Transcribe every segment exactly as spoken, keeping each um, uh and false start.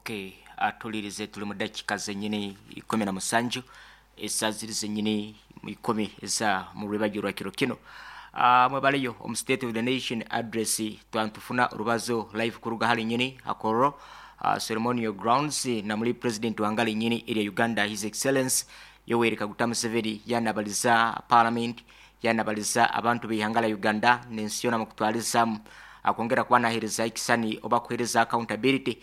Okay, atulirize tuli mu dakika zenyini ikumi na musanju esaa ziri zenyini ikumi eza mu rwebagyo rwa kiro kino. Uh, mwebaleyo omu State of the Nation Address twantufuna orubazo live kuruga hali nyini Hakororo uh, ceremonial grounds na muri president wangale nyini erya Uganda, His Excellence Yoweri Kaguta Museveni, yanabaliza parliament, yanabaliza abantu b'ihanga la Uganda n'ensi yona mukutwalizamu, akwongera kuba nahereza ekisani oba kuhereza accountability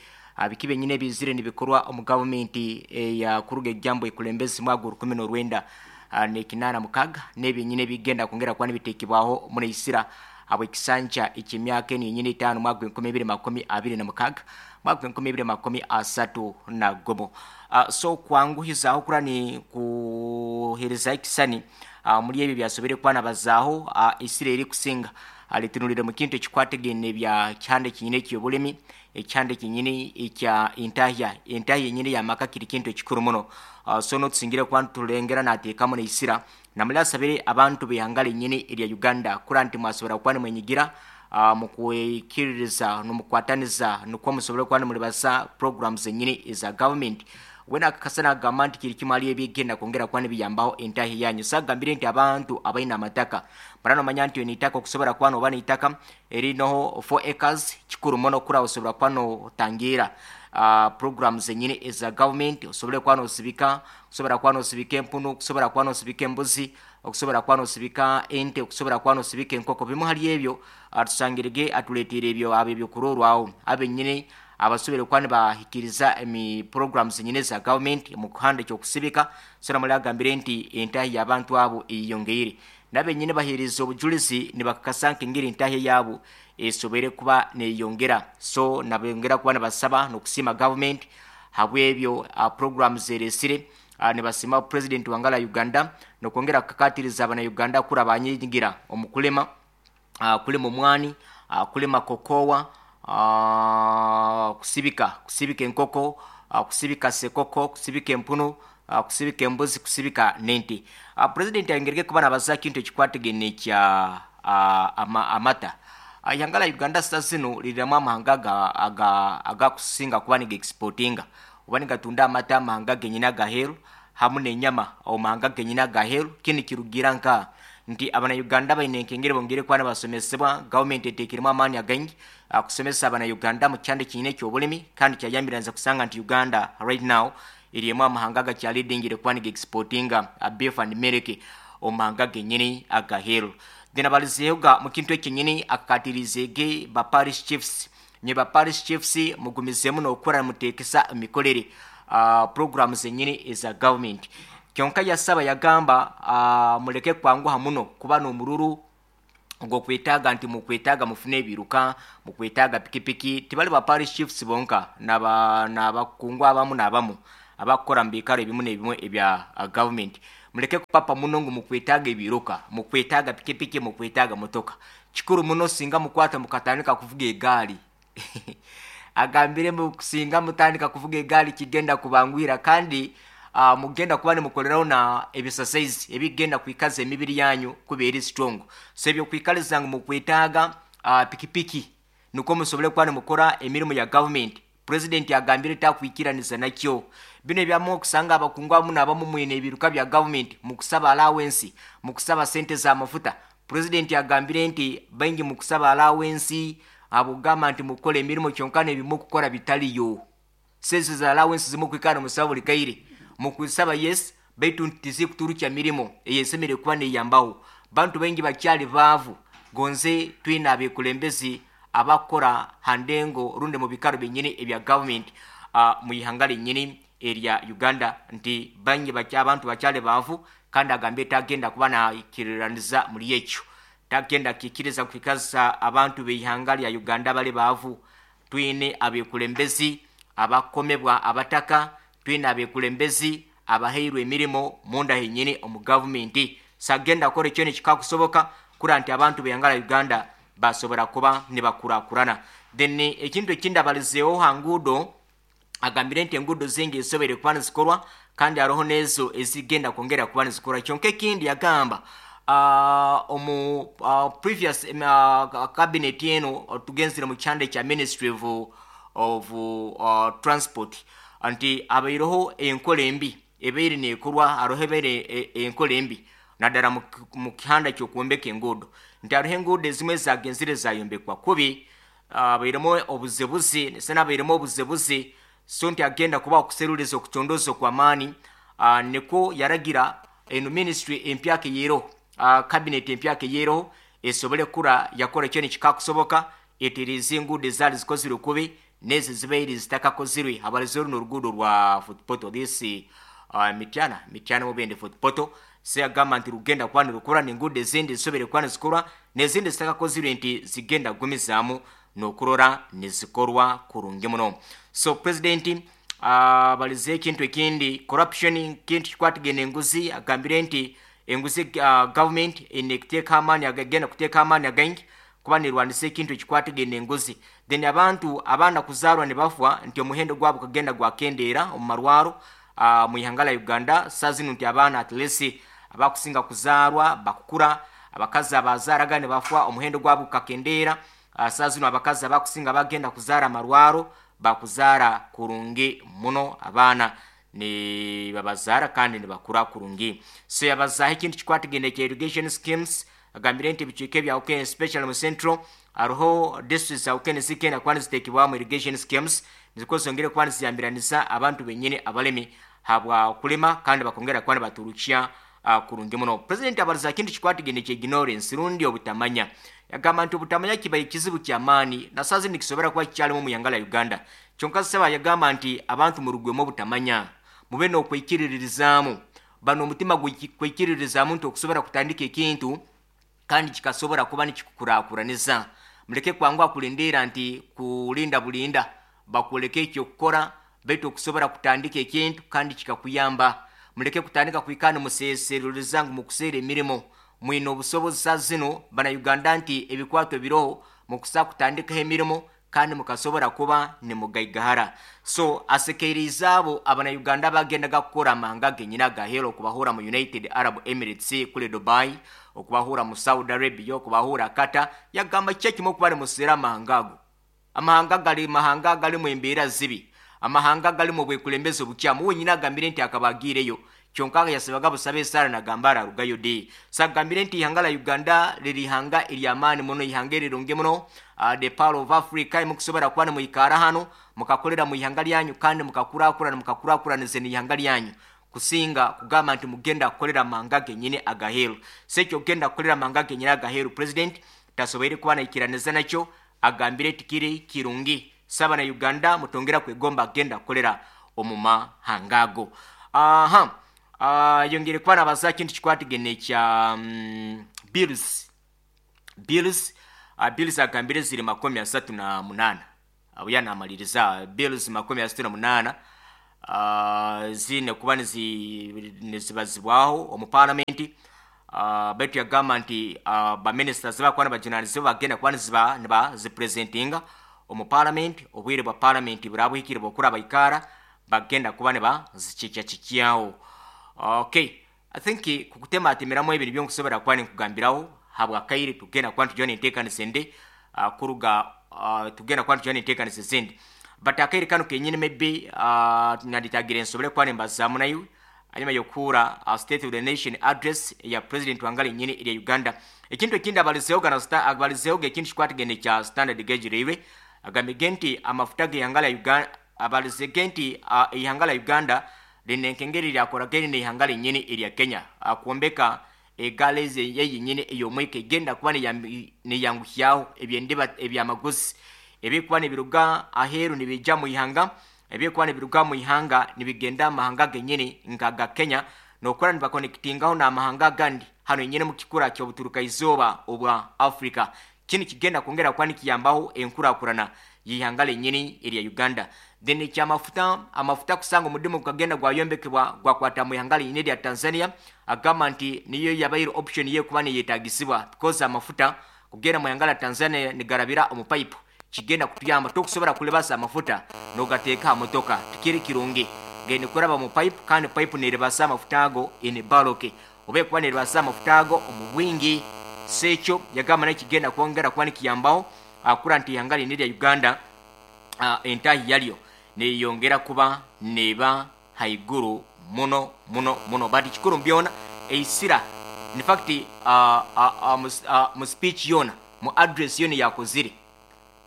biki benyine ebizire nibikorwa omu gavumenti eya kuruga ejambo ekulembezi mwaka rukumi n'orwenda n'ekinaana mukaga, n'ebyenyine ebigenda kwongera kuba nibitekebwaho muri isira habw'ekisanja eky'emyaka enu yenyine etaano, mwaka enkumi ibiri makumi abiri na mukaga, mwaka enkumi ibiri makumi asatu na gumu. uh, so kwanguhizaho kura ni kuhereza ekisani uh, muri ebyo byasobere kuba nabazaaho, uh, isira eri kusinga alitunulire mu kintu ekikwategene bya kyande kinyine eky'obulemi, ekyande kinyine ekya entahya, entahya yenyine yamaka kiri kintu ekikuru muno. uh, so notusingire kuba nitulengera nateekamu neisira namuli asabire abantu b'ihanga lenyine erya Uganda kura nti mwasobora kuba nimwenyigira uh, mukwikiririza nomukwataniza nukwo musobole kuba nimulibasa programs zenyine eza government. Wena akakasa nagamba nti kiri kimwe ali ebigenda kwongera kuba nibiyambaho entahi yanyu. Sagambire nti abantu abaine amataka barano manya nti nitaka okusobora kuba noba nitaka erinoho four acres kikuru muno kura osobora kuba notangira uh, programs zenyine eza government, osobole kuba nosibika, okusobora kuba nosibika empunu, okusobora kuba nosibika embuzi, okusobora kuba nosibika ente, okusobora kuba nosibika enkoko. Bimu hali ebyo atusangirege atuleetera ebyo abo ebyokurorwaho abenyine abasobere kuba nibahikiriza emi programs nyine za government mu kuhanda ekyokusibika. So namuli agambire nti entahi y'abantu abo eyongeire, nabenyine bahereza obujulizi nibakakasa nk'engeri entahi yabo esobere kuba neyongera. So nabongera kuba nibasaba n'okusiima government habwebyo uh, programs eresire, uh, nibasima president wangala Uganda nokwongera kukakatiriza abana Uganda kura banyigira omu kulema, uh, kulima omwani, uh, kulima kokowa, uh, kusibika kusibika enkoko, uh, kusibika sekoko, kusibika empunu, uh, kusibika embuzi, kusibika nente. uh, president ayongereke kuba nabaza kintu ekikwategene kya uh, ama, amata. Ihanga la Uganda sasa zino liriramu amahanga aga aga agakusinga kuba niga exportinga oba nigatunda amata amahanga genyine agaheru hamu n'enyama omahanga genyine agaheru. Kini kirugira nka nti abana-Uganda baine enkengere bongere kuba nibasomesebwa. Gavumenti eteekiremu amaani againgi kusomesa abana-Uganda mu kyanda kinyine eky'obulimi, kandi kyayambira kusanga nti Uganda right now eriemu amahanga agakyalidingire kuba niga exportinga beef and milk omahanga genyine agaheru. Then abalizeega mu kintu ekinyini akakatirizeege ba parish chiefs, nye ba parish chiefs mugumizemu n'okukora muteekesa emikorere uh, programs zenyini eza government. Kyonka yasaba yagamba uh, muleke kwanguha muno kuba n'omururu ogwokwetaaga nti mukwetaaga mufune ebiruka, mukwetaaga pikipiki. Tibali ba parish chiefs bonka, n'abakungu abamu n'abamu abakukora mu biikaro ebimu n'ebimu ebya uh, government, muleke kupapa muno ngu mukwetaaga ebiruka, mukwetaaga pikipiki, mukwetaaga motoka. Kikuru muno singa mukwata mukatandika kuvuga egaali. Agambire singa mutandika kuvuga egaali kigenda kubanguhira, kandi uh, mugenda kuba nimukoleraho na exercise ebigenda kwikaza emibiri yanyu kuba eri strong. So ebyokwikaliza ngu mukwetaaga uh, pikipiki nukwo musobole kuba nimukora emirimu ya government, president agambire takwikiraniza nakyo. Bino ebyamu okusanga abakungu abamu n'abamu mwine ebiruka bya government mukusaba allowance, mukusaba sente z'amafuta. President agambire nti baingi mukusaba allowance abugamba nti mukole emirimu kyonka n'ebimu kukora bitaliyo. Sente za allowance zimukwikana musaba buli kaire mukusaba, yes, baitu tizikuturukya mirimo eyesemere kuba neyambaho. Bantu baingi bakyali baavu gonze twine abekulembezi abakora handengo rundi mu bikaro byenyini ebya government uh, mu ihanga lyenyini erya Uganda nti bangi bakya abantu bakyali baavu, kandi agambye tagenda kuba nakiraniza muri ekyo, tagenda kikiriza kwikaza abantu b'ihanga lya Uganda bali baavu. Twine abekulembezi abakomebwa abataka, twine abekulembezi abaheirwe emirimo munda henyini omu gavumenti. Sagenda kukora ekyo nekikakusoboka kura nti abantu b'ihanga lya Uganda basobora kuba nibakurakurana. Then ekintu ekindi abalizeeho ha nguudo, agambire nti enguudo zingi zisobere kuba nizikorwa kandi hariho n'ezo ezigenda kwongera kuba nizikorwa. Kyonka ekindi yagamba uh, omu uh, previous uh, cabinet eno tugenzire mu kyanda ekya Ministry of, of uh, Transport nti abaireho enkola embi ebaire nekorwa, hariho ebaire enkola embi naddala mu kihanda ky'okwombeka enguudo, nti hariho enguudo ezimwe zagenzire zayombekwa kubi, abairemu obuzebuzi sena abairemu obuzebuzi. So nti agenda kuba okuseruliza okucondoza okw'amaani, uh, niko yaragira eno ministry empyaka eyero, uh, cabinet empyaka eyero esobole kura yakora ekyo nikikakusoboka etereza enguudo ezaali zikozirwe kubi n'ezi zibaire zitakakozirwe. Habalize runo oruguudo rwa Fort this uh, Mityana Mityana mubende Fort Portal, se yagamba nti rugenda kuba nirukora n'enguudo ezindi zisobere kuba nizikorwa n'ezindi zitakakozirwe nti zigenda kugumizaamu n'okurora nizikorwa kurungi muno. So president abalize uh, ekintu ekindi, corruption, kintu kikwatagene enguzi. Agambire nti enguzi uh, government ine kuteeka amaani agagenda kuteeka amaani againgi kuba nirwanisa ekintu ekikwatagene enguzi. Then abantu abaana kuzaarwa ne bafwa nti omuhendo gwabo kagenda gwakendeera omu marwaro uh, mu ihanga lya Uganda. Saa zino nti abaana at least abakusinga kuzaarwa bakukura, abakazi abazaaraga ne bafwa omuhendo gwabo gukakendeera. Uh, saa zino abakazi abakusinga bagenda kuzaara amarwaro bakuzaara kurungi muno, abaana ni babazaara kandi nibakura kurungi. So yabazaho ekintu kikwatagene kya irrigation schemes, agambire nti ebicweka ebya Ukene especially mu central hariho districts za Ukene zigenda kuba nizitekebwamu irrigation schemes niziko zongere kuba niziyambiraniza abantu benyine abalemi habwa kulima kandi bakongera kuba nibaturukya uh, kurungi muno. President abaliza kintu kikwatagene kya ignorance rundi obutamanya, yagamba nti obutamanya kibaye kizibu ky'amaani na saa zino nikisobora kuba kikyalimu mu ihanga lya Uganda. Kyonka saba yagamba nti abantu murugwemu obutamanya, mube n'okwikiririzaamu, bano omutima gwikiririzaamu nti okusobora kutandika ekintu kandi kikasobora kuba nikikukurakuraniza. Muleke kwanguha kulindiira nti kulinda bulinda bakuleke ekyokukora, baitu okusobora kutandika ekintu kandi kikakuyamba. Muleke kutandika kwikana museserereza ngu mukuseera emirimo, mwine obusobozi saa zino bana Uganda nti ebikwato biroho mukusa kutandikaho emirimo kandi mukasobora kuba nimugaigahara. So asekeirize abo abana Uganda bagendaga kukora amahanga genyine agahero, okubahura mu United Arab Emirates kule Dubai, okubahura mu Saudi Arabia, okubahura Qatar. Yagamba kiki kimwe okuba nimuseera amahanga ago, amahanga gali mahanga galimu embeera zibi, amahanga galimu obwekulembeze obukyamu. Wenyine agambire nti akabagiireyo kyonka yasabaga busabe esaara nagamba ararugayo di. So agambire nti ihanga lya Uganda liri ihanga ery'amaani muno, ihanga erirungi muno, uh, the power of Africa, mukusobora kuba nimwikara hano mukakolera mu ihanga lyanyu kandi mukakurakurana mukakurakuraniza n'ihanga lyanyu, kusinga kugamba nti mugenda kukolera amahanga genyine agaheru. So ekyo kugenda kukolera amahanga genyine agaheru president tasoboire kuba naikiraniza nakyo, agambire tikiri kirungi. Saba na Uganda mutongera kwegomba agenda kukolera omu mahanga ago. Aha uh, yongere kuba nabaza kintu kikwatagene kya um, bills bills uh, bills agambire ziri makumi asatu na munana, abo yanamaliriza bills makumi asatu na munana uh, zine kuba nizibazibwaho omu parliament. Uh, baitu yagamba nti uh, baministers bakuba nibajunanizibwa bagenda kuba niziba nibazipresentinga omu parliament, obwire bwa parliament burabuhikire bwokura baikara bagenda kuba nibazikikyakikyaho. Okay, I think kukutema atemeramu ebintu byonkusobora kuba ninkugambiraho habwa kaire tugenda kuba nitujwana enteekanisa ende uh, kuruga uh, tugenda kuba nitujwana enteekanisa ezindi, but akaire kano kenyine maybe uh, nanditagire nsobole kuba nimbazaamu naiwe hanyuma yokuura uh, State of the Nation address ya president wangala nyine erya Uganda. Ekintu ekindi abalizeho gana abalizeho ekintu kikwatagene kya Standard Gauge Railway, agambye nti amafuta g'ihanga lya Uganda, abalizege nti uh, ihanga lya Uganda lina enkengeri lyakoragene n'ihanga lyenyine erya Kenya akwombeka egaali yeyinyine ey'omwika egenda kuba neyanguhyaho ebyendiba ebyamaguzi ebikuba nibiruga aheeru nibijja mu ihanga, ebikuba nibiruga mu ihanga nibigenda amahanga genyine nka ga Kenya, nokora nibakonekitingaho n'amahanga agandi hano nyine mu kikura ky'obuturuka izooba obwa Africa. Kini kigenda kwongera kuba nikiyambaho enkurakurana y'ihanga lyenyine erya Uganda. Then ekyamafuta, amafuta kusanga omudimu gukagenda gwayombekebwa gwakwata mu ihanga lyenyine erya Tanzania, agamba nti niyo yabaire option ye kuba neyetagisibwa because amafuta kugenda mu ihanga lya Tanzania nigarabira omu pipe, kigenda kutuyamba tokusobora kulebasa amafuta nogateeka aha motoka, tikiri kirungi gende kuraba mu pipe kandi pipe nerebasa amafuta ago in bulk, oba kuba nerebasa amafuta ago omu bwingi. So ekyo yagamba nakyo kigenda kwongera kuba nikiyambaho akura nti ihanga lyenyine erya Uganda uh, entahi yalyo neyongera kuba neba haiguru muno muno muno. But kikuru byona eisira, in fact, uh, uh, uh, mu, uh, mu speech yona, mu address yona yakozire,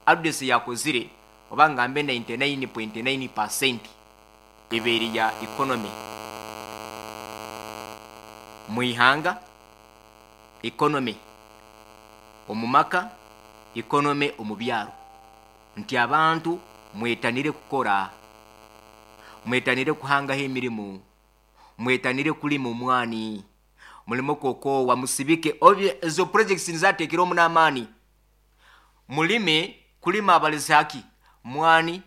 address yakozire oba ngambe ninety-nine point nine percent ebeeri ya economy mwihanga, economy omu maka, economy omu byaro, nti abantu mwetanire kukora, mwetanire kuhangaho emirimu, mwetanire kulima omwani, mulimo kokowa, musibike. Obye ezo projects nizatekera omu n'amaani, mulime kulima abalizi haki mwani,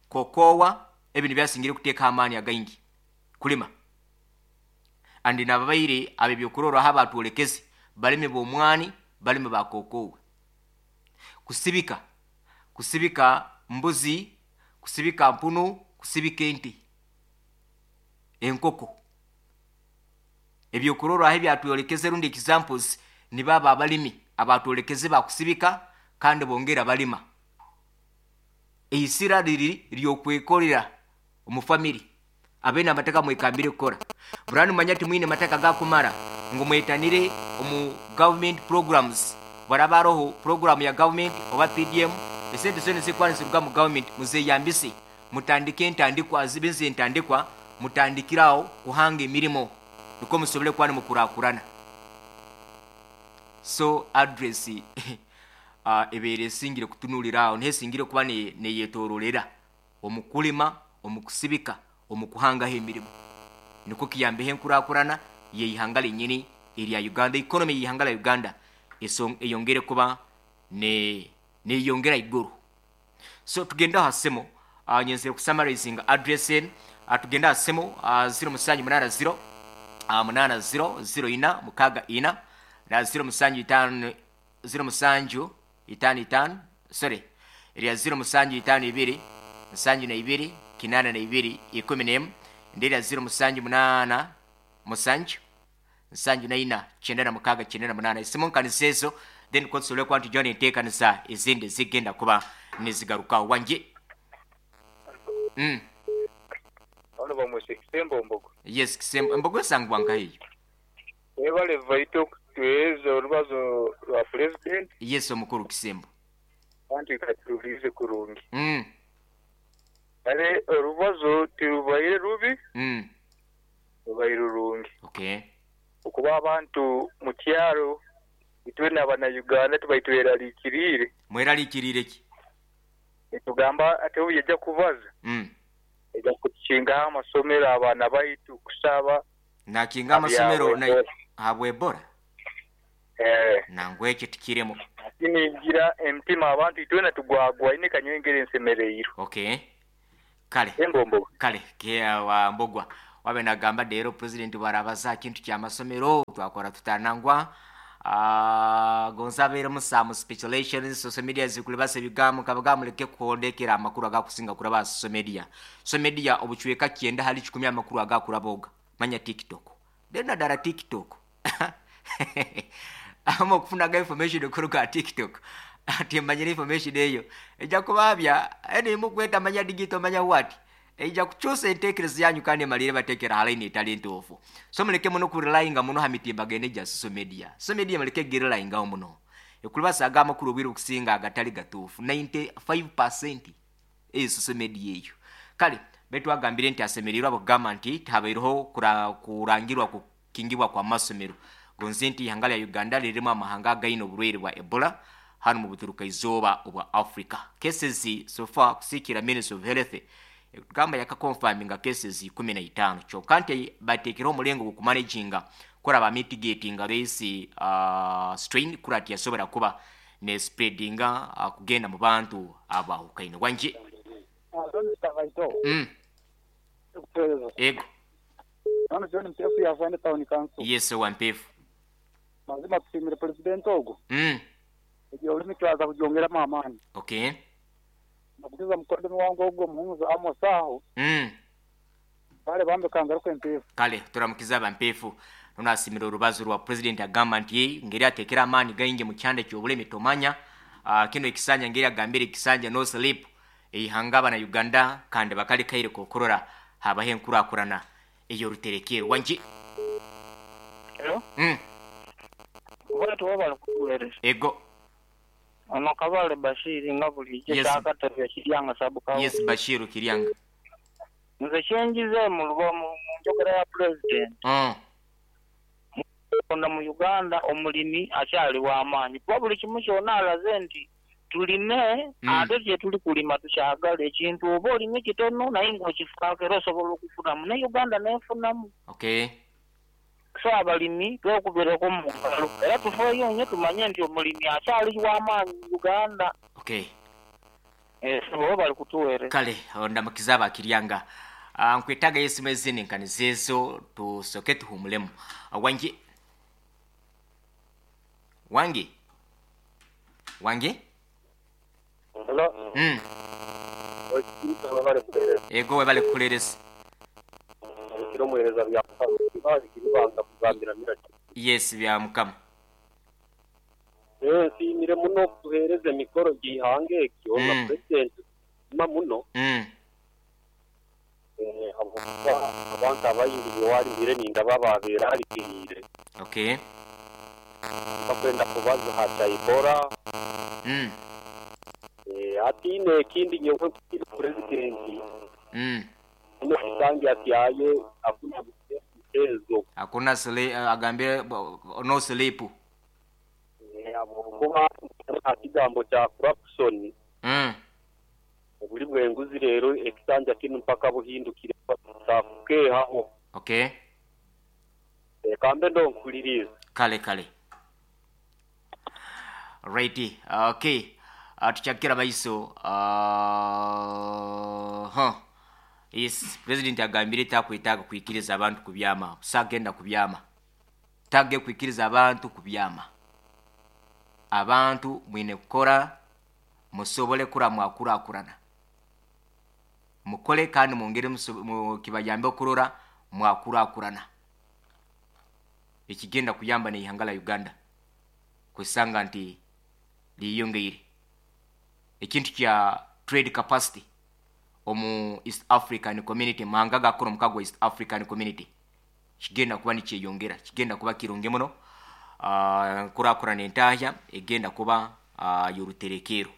kokowa, ebintu byasingire kuteeka amaani againgi kulima. Andi nababaire ab'ebyokurorwaho abatwolekeze balimi b'omwani, balimi ba kokowa, kusibika, kusibika mbuzi, kusibika mpunu, kusibika ente, enkoko. Ebyokurorwaho ebyatwolekeze rundi examples nibaba abalimi abatwolekeze bakusibika kandi bongera balima. Eisira riri ryokwekorera omu family, abene amataka mwekambire kukora burani, manya timwine mataka gakumara ngu mwetanire omu government programs. Baraba haroho program ya government oba P D M, esente zona zikuba niziruga mu government muzeyambise, mutandike entandikwa, zibe entandikwa, mutandikiraho kuhanga emirimo niko musobole kuba nimukurakurana. So address uh, ebeere esingire kutunulira aho, niho esingire kuba neyetororera omu kulima, omu kusibika, omu kuhangaho emirimu, nikwo kiyambeho enkurakurana yeihanga lenyini erya Uganda, economy yeihanga lya Uganda eyongere kuba ne neyongera iguru. So tugende aha simu, uh, nyenzere kusummarizinga address enu. uh, tugende aha simu, uh, zero musanju munana zero uh, munana zero zero ina mukaga ina na zero musanju itano zero musanju itano itano, sorry, erya zero musanju itano ibiri nsanju na ibiri kinana na ibiri ikumi n'emu, indi erya zero musanju munana musanju nsanju na ina kyenda na mukaga kyenda na munana. Esimu nkanisa ezo, then kotusobole kuba nti jona enteekanisa ezindi zigenda kuba nizigarukaho wanje mm. Bano bamwese Kisembo Mbogo. Yes, Kisembo Mbogo, esangwa nkahiyo. Webale vaito kutuweza orubazo rwa president. Yes, omukuru Kisembo. Anti katulize kurungi. mm. Ale orubazo tirubaire rubi, Mm. rubaire rurungi. Okay okuba abantu mu kyaro itwe n'abana Uganda tubaitweraliikiriire. Mweraliikiriire ki? Etugamba ate obu yajja kubaza, mm. ejja kukingaho amasomero, abaana baitu kusaba. Nakinga amasomero na Ebola. Habwa Ebola? Eh. Nangwa ekyo tikiremu. Nigira emitima abantu itwena tugwagwaine kanywengere ensemereirwe. Okay, kale. Embombo. Kale ke wa Mbogwa wabe nagamba leero president bwarabaza kintu kyamasomero twakora tutanangwa. uh, gonza abeeremu some speculations, social media zikulibasa ebigambo kabaga, muleke kuhondekera amakuru agakusinga kuraba social media. Social media obucweka kyenda hali kikumi amakuru agakuraboga manya TikTok, then naddala TikTok amu okufunaga information okuruga TikTok, ati manyire information eyo ejja kubabya enimu kweta manya digital manya what, ejja kukyusa enteekereza yanyu kandi emalire bateekera halaini etali ntuufu. So muleke muno kurelyinga muno ha mitimbagano egya social media. Social media muleke girelyingaho muno, ekulibasaaga amakuru obwire okusinga agatali gatuufu ninety-five percent eyo social media eyo. Kale betu agambire nti asemereirwe abokugamba nti tihabaireho kurangirwa kukingibwa kwa masomero, gonze nti ihanga lya Uganda lirimu amahanga againe oburwaire bwa Ebola hano mu buturuka izooba obwa Africa. Cases so far, kusikira Ministry of Health gamba yakaconfirminga cases ikumi na itaano, kyokka nti bateekereho omulengo gwokumanaginga kuraba mitigatinga this uh, strain kura tiyasobora kuba ne spreadinga uh, kugenda mu bantu abahukaine. Wanje? mm. Ego. None John Mpefu yavaine town council. Yes, wa Mpefu. Mazima tusimire president ogo. mm. Ebyo olimi twaza kugyongeramu amaani. Okay nakugiza mukoddomi wange ogwo muhumuza Amos aho. mm. Bale bambe kangaruka Empefu. Kale turamukiza abampeefu. Nonasimira orubazo rwa president, agamba nti ngeri atekera amaani gaingi mu kyanda kyobulemi tomanya uh, kino ekisanja ngeri agambire ekisanja no sleep. Eihanga abana Uganda kandi bakalekaire kokurora habaho enkurakurana ey'oruterekero. Wangi? Hello? Mm. Bwatu wabali kukuweereza. Ego. Ono Kabale Bashiri nga bulijjo Yes. kyakatebya Kiryanga Sabukawo. Yes, Bashiru Kiryanga. Nze kyenjize mu lubo mu mu njogera ya pulezidenti. Mm. Onda mu Uganda omulimi akyali w'amaanyi kuba buli kimu kyonna alaze nti tulime. Mm. Ate kye tuli kulima tukyagala ekintu oba olimye kitono naye ng'okifaako era osobola okufunamu ne Uganda n'efunamu. Okay. So abalimi twekubireko mu ngalo era tufeeyo nnyo tumanye nti omulimi akyali w'amaanyi mu Uganda. Okay. Eh, so bo bali kutuweereza. Kale ndamukiza abakiryanga. Ah, nkwetaaga esimu ezindi nkanizeezo tusoke tuhumulemu. Ah, wangi? Wangi? Wangi? Hello. Mm. Ego, webale kukuleereza. Kiro muhereza bya banga kugambira miraki. Yes, bya Mukama. Eh, nsiimire muno kutuhereza emikoro gihanga ekyo na Mm. president ma muno. Mm. Eh, habwokuba abantu abayingirire walimire ninda bababeera harikiriire. Okay. Bakwenda kubaza hakyayikora. Mm. Eh, atiine ekindi nyowe president Mm. muno kisangi atyaye akuna mchezo. Hakuna sle, agambire bo- no sleep. Eh, habwokuba nta kigambo kya corruption Mm. obuli bwenguzi rero ekisanja kinu mpaka buhindukire sakukehaho. Okay. Eh, kambe ndonkuliriza. Kale kale. Right. Okay. Uh, tukyakira baiso. Uh, huh. Yes, president agambire takwetaaga kwikiriza abantu kubyama. Sagenda kubyama. Tage kwikiriza abantu kubyama. Abantu mwine kukora musobole kura mwakurakurana. Mukole kandi mwongere muso- mu- kibayambe okurora mwakurakurana. Ekigenda kuyamba neihanga la Uganda kusanga nti liyongeire ekintu kya trade capacity omu East African Community, mahanga gakora omukago East African Community kigenda kuba nikyeyongera, kigenda kuba kirungi muno. uh, nkurakurana entahya egenda kuba uh, yoruterekero.